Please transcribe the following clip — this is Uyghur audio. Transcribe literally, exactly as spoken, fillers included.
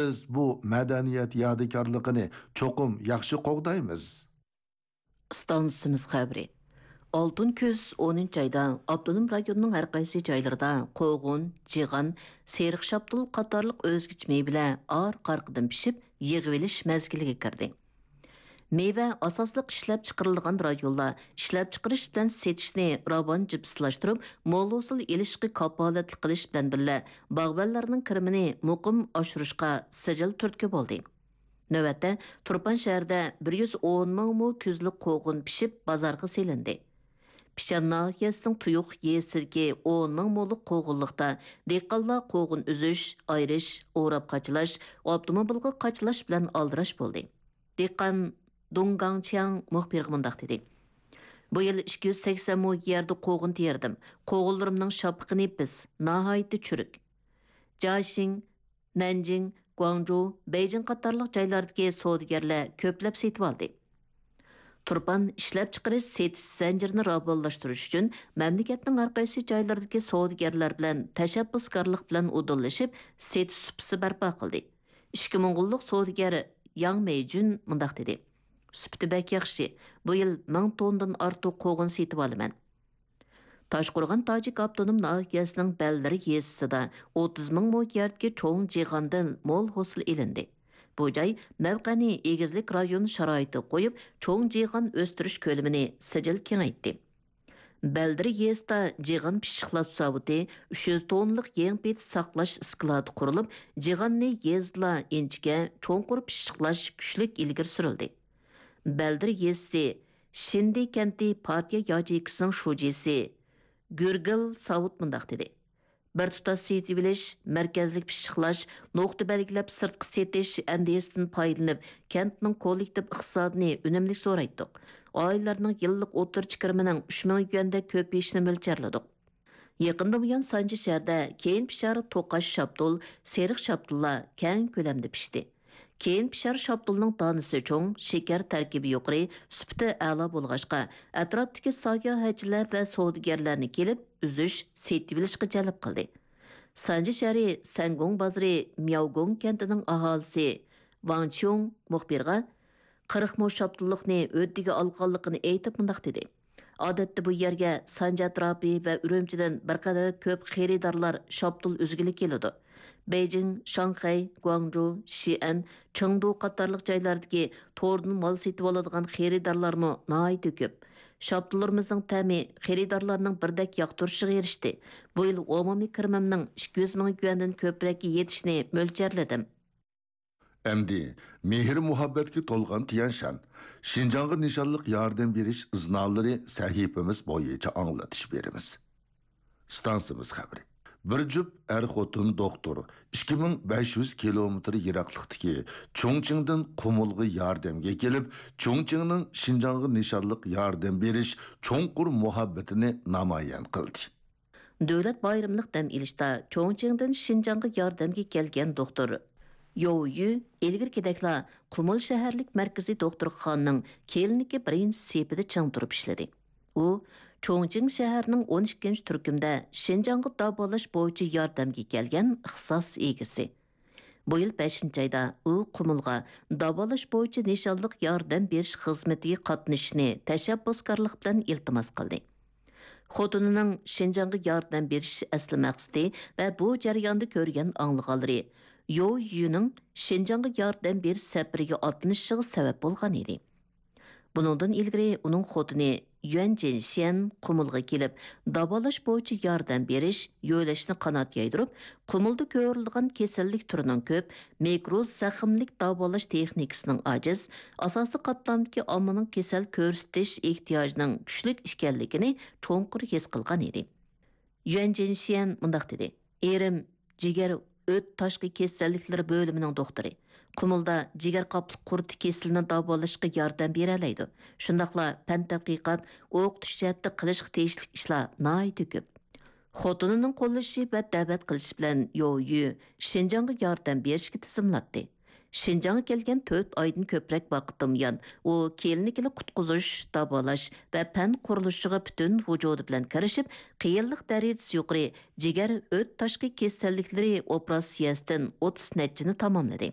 بىز بۇ مەدەنىيەت يادىكارلىقىنى چوقۇم ياخشى قوغدايمىز. ئىستانسىمىز خەۋىرى. ئالتۇن كۈز ئونىنچى ئايدا ئاپتونوم رايوننىڭ ھەر قايسى جايلىرىدا قوغۇن، جىغان، سېرىق شاپتۇل قاتارلىق ئۆزگىچە مېۋىلەر ئارقا-ئارقىدىن پىشىپ، يىغىۋېلىش مەزگىلىگە كىردى. مېۋە ئاساسلىق ئىشلەپچىقىرىلىدىغان رايونلار ئىشلەپچىقىرىش بىلەن سېتىشنى راۋان جىپسىلاشتۇرۇپ، مول ھوسۇل ئېلىشقا كاپالەتلىك قىلىش بىلەن بىللە، باغۋەنلەرنىڭ كىرىمىنى مۇقىم ئاشۇرۇشقا سىجىل تۈرتكە بولدى. نۆۋەتتە، تۇرپان شەھىرىدە بىر يۈز ئون مىڭ مو كۈزلۈك قوغۇن پىشىپ، بازارغا سېلىندى. پىشان ناھىيەسىنىڭ تۇيۇق يېزىسىدىكى ئون مىڭ مولۇق قوغۇنلۇقتا دېھقانلار قوغۇن ئۈزۈش، ئايرىش، ئوراپ قاچىلاش، ئاپتوموبىلغا قاچىلاش بىلەن ئالدىراش بولدى. دېھقان دۇڭ گاڭچياڭ مۇخبىرغا مۇنداق دېدى: «بۇ يىل ئىككى يۈز سەكسەن مو يەردە قوغۇن تېرىدىم. قوغۇنلىرىمنىڭ شاپىقى نېپىز، ناھايىتى چۈرۈك. جاشىڭ، نەنجىڭ، گۇاڭجۇ، بېيجىڭ قاتارلىق جايلاردىكى سودىگەرلەر كۆپلەپ سېتىۋالدى.» تۇرپان ئىشلەپچىقىرىش سېتىش زەنجىرىنى راۋانلاشتۇرۇش ئۈچۈن مەملىكەتنىڭ ھەر قايسى جايلىرىدىكى سودىگەرلەر بىلەن تەشەببۇسكارلىق بىلەن ئۇدۇللىشىپ، سېتىش سۇپىسى بەرپا قىلدى. ئىككى موڭغۇللۇق سودىگەر ياڭ مېيجۈن مۇنداق دېدى: «سۈپىتى بەك ياخشى، بۇ يىل مىڭ توننىدىن ئارتۇق قوغۇن سېتىۋالىمەن.» تاشقورغان تاجىك ئاپتونوم ناھىيەسىنىڭ بەلدىر يېزىسىدا ئوتتۇز مىڭ مو يەردىكى چوڭ جىغاندىن مول ھوسۇل ئېلىندى. بۇ جاي مەۋقەنى ئېگىزلىك رايون شارائىتىغا قويۇپ، چوڭ جىغان ئۆستۈرۈش كۆلىمىنى سىجىل كېڭەيتتى. بەلدىر يېزىسىدا جىغان پىششىقلاش زاۋۇتى، ئۈچ يۈز توننىلىق يېڭى پېتى ساقلاش ئىسكىلاتى قۇرۇلۇپ، جىغاننى يېزىدىلا ئىنچىكە، چوڭقۇر پىششىقلاش كۈچلۈك ئىلگىرى سۈرۈلدى. بەلدىر يېزىسى شىندى كەنتى پارتىيە ياچېيكىسىنىڭ شۇجىسى گۈرگىل ساۋۇت مۇنداق دېدى: «بىر تۇتاش سېتىۋېلىش، مەركەزلىك پىششىقلاش، نۇقتا بەلگىلەپ سىرتقا سېتىش ئەندىزىسىدىن پايدىلىنىپ، كەنتنىڭ كوللېكتىپ ئىقتىسادىنى ئۈنۈملۈك زورايتتۇق. ئائىلىلەرنىڭ يىللىق ئوتتۇرىچە كىرىمىنىڭ ئۈچ مىڭ يۈەندەك كۆپىيىشىنى مۆلچەرلىدۇق.» يېقىندىن بۇيان سانجى شەھىرىدە كېيىن پىشار توقاچ شاپتۇل، سېرىق شاپتۇللار كەڭ كۆلەمدە پىشتى. كېيىن پىشار شاپتۇلنىڭ دانىسى چوڭ، شېكەر تەركىبى يۇقىرى، سۈپىتى ئەلا بولغاچقا، ئەتراپتىكى ساياھەتچىلەر ۋە سودىگەرلەرنى كېلىپ ئۈزۈش، سېتىۋېلىشقا جەلپ قىلدى. سانجى شەھىرى سەنگۇڭ بازىرى مياۋگۇڭ كەنتىنىڭ ئاھالىسى ۋاڭ چيۇڭ مۇخبىرغا قىرىق مو شاپتۇللۇقنى ھۆددىگە ئالغانلىقىنى ئېيتىپ مۇنداق دېدى: «ئادەتتە بۇ يەرگە سانجى ئەتراپى ۋە ئۈرۈمچىدىن بىر قەدەر كۆپ خېرىدارلار شاپتۇل ئۈزگىلى كېلىدۇ. بېيجىڭ، شاڭخەي، گۇاڭجۇ، شىئەن، چېڭدۇ قاتارلىق جايلاردىكى توردىن مال سېتىۋالىدىغان خېرىدارلارمۇ ناھايىتى كۆپ. شاپتۇللىرىمىزنىڭ تەمى خېرىدارلارنىڭ بىردەك ياقتۇرۇشىغا ئېرىشتى. بۇ يىل ئومۇمىي كىرىمىمنىڭ ئىككى يۈز مىڭ يۈەندىن كۆپرەككە يېتىشىنى مۆلچەرلىدىم.» ئەمدى مېھىر-مۇھەببەتكە تولغان تيەنشان، شىنجاڭغا نىشانلىق ياردەم بېرىش ئىزنالىرى سەھىپىمىز بويىچە ئاڭلىتىش بېرىمىز. ئىستانسىمىز خەۋىرى. بىر جۈپ ئەر-خوتۇن دوختۇر ئىككى مىڭ بەش يۈز كىلومېتىر يىراقلىقتىكى چۇڭچىڭدىن قۇمۇلغا ياردەمگە كېلىپ، چۇڭچىڭنىڭ شىنجاڭغا نىشانلىق ياردەم بېرىش چوڭقۇر مۇھەببىتىنى نامايان قىلدى. دۆلەت بايرىملىق دەم ئېلىشتا چوڭچىڭدىن شىنجاڭغا ياردەمگە كەلگەن دوختۇر يو يۈ ئىلگىرىكىدەكلا قۇمۇل شەھەرلىك مەركىزىي دوختۇرخانىنىڭ كلىنىكا بىرىنچى سېپىدە چىڭ تۇرۇپ ئىشلىدى. ئۇ چوڭچىڭ شەھىرىنىڭ ئون ئىككىنچى تۈركۈمدە شىنجاڭغا داۋالاش بويىچە ياردەمگە كەلگەن ئىختىساس ئىگىسى. بۇ يىل بەشىنچى ئايدا ئۇ قۇمۇلغا داۋالاش بويىچە نىشانلىق ياردەم بېرىش خىزمىتىگە قاتنىشىشنى تەشەببۇسكارلىق بىلەن ئىلتىماس قىلدى. خوتۇنىنىڭ شىنجاڭغا ياردەم بېرىش ئەسلى مەقسىتى ۋە بۇ جەرياندا كۆرگەن ئاڭلىغانلىرى يو يۈنىڭ شىنجاڭغا ياردەم بېرىش سەپىرىگە ئاتلىنىشىغا سەۋەب بولغان ئىدى. بۇنىڭدىن ئىلگىرى ئۇنىڭ خوتۇنى يۈەن جىنشيەن قۇمۇلغا كېلىپ، داۋالاش بويىچە ياردەم بېرىش، يۆلەشنى قانات يايدۇرۇپ، قۇمۇلدا كۆرۈلىدىغان كېسەللىك تۈرىنىڭ كۆپ، مىكرو زەخىملىك داۋالاش تېخنىكىسىنىڭ ئاجىز، ئاساسىي قاتلامدىكى ئاممىنىڭ كېسەل كۆرسىتىش ئېھتىياجىنىڭ كۈچلۈك ئىكەنلىكىنى چوڭقۇر ھېس قىلغان ئىدى. يۈەن جىنشيەن مۇنداق دېدى: «ئېرىم جىگەر ئۆت تاشقى كېسەللىكلىرى بۆلۈمىنىڭ دوختۇرى. قۇمۇلدا جىگەر قاپلىق قۇرتى كېسىلىنى داۋالاشقا ياردەم بېرەلەيدۇ. شۇنداقلا پەن تەتقىقات، ئوقۇتۇش جەھەتتە قىلىشقا تېگىشلىك ئىشلار ناھايىتى كۆپ.» خوتۇنىنىڭ قوللىشى ۋە دەۋەت قىلىشى بىلەن يو يۈ شىنجاڭغا ياردەم بېرىشكە تىزىملاتتى. شىنجاڭغا كەلگەن تۆت ئايدىن كۆپرەك ۋاقىتتىن بۇيان، ئۇ كلىنىكىلىق قۇتقۇزۇش، داۋالاش ۋە پەن قۇرۇلۇشىغا پۈتۈن ۋۇجۇدى بىلەن كىرىشىپ، قىيىنلىق دەرىجىسى يۇقىرى جىگەر ئۆت تاشقى كېسەللىكلىرى ئوپېراتسىيەسىدىن ئوتتۇز نەچچىنى تاماملىدى.